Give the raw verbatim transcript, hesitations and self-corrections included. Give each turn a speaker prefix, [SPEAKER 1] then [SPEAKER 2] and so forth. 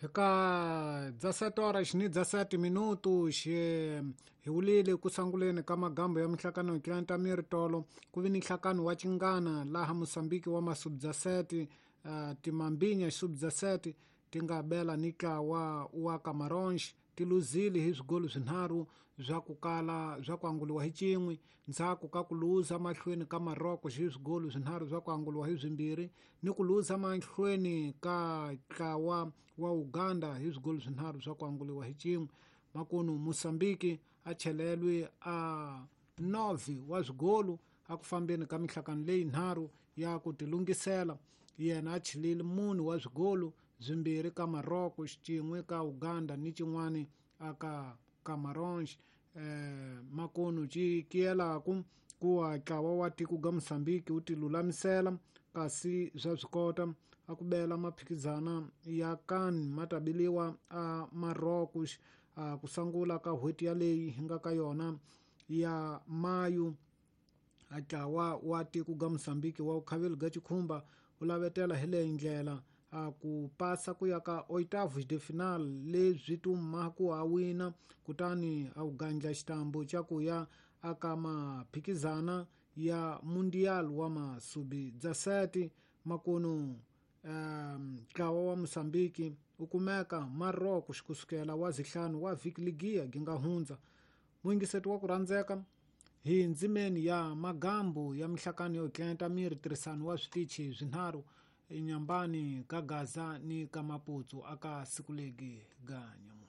[SPEAKER 1] Eka dezessete horas ni dezessete minutos hi wulile ku sunguleni ka magambo ya minhlangano tlanta miritolo ku vi ni nhlangano wa Chingana laha Mozambique wa masub dezessete uh, timambinya sub dezessete ti nga bela ni ntlawa wa Camarões ti luzile hi swigolo swinharhu swa ku kala swa ku anguliwa hi cin'we ndzhaku ka ku luza mahlweni ka Maroko hi swigolo swinharhu swa ku anguliwa hi swimbirhi ni ku luza mahlweni ka ntlawa wa Uganda hi swigolo swinharhu swa ku anguliwa hi cin'we. Makunu Mozambique a chelelwe a nove wa swigolo a ku fambeni ka minhlangano leyi nharhu ya ku tilungisela. Yena a chelile mune wa swigolo swimbirhi ka Maroko, xin'we ka Uganda ni xin'wana aka Camarões. Eh, makunu cikiyelaku kuwa ntlawa wa tiko ga Mozambique wu tilulamisela kasi swa swi kota a ku bela maphikizana ya CAN ma ta biliwa a Maroko a ku sungula ka n'hweti yaleyi hi nga ka yona ya Mayu. A ntlawa wa tiko ga Mozambique wa vukhaveli ga Chikhumba wu lavetela hi leyi ndlela a ku pasa ku ya ka oitavos de final leswi tuma ku a wina kutani a wu gandla xitambu xa ku ya aka maphikizana ya Mundial wa masubi dezessete. Makunu ntlawa um, wa Mozambique wu kumeka Maroko kusukela wa zihlanu wa vhiki ligiya gi nga hundza. Muyingiseti wa ku rhandzeka hi ndzimeni ya magambo ya minhlangano yo tlenta miri tirhisano wa switichi swinharhu enyambani ka Gaza ni ka Maputo aka siku legi ga nyamuntlha.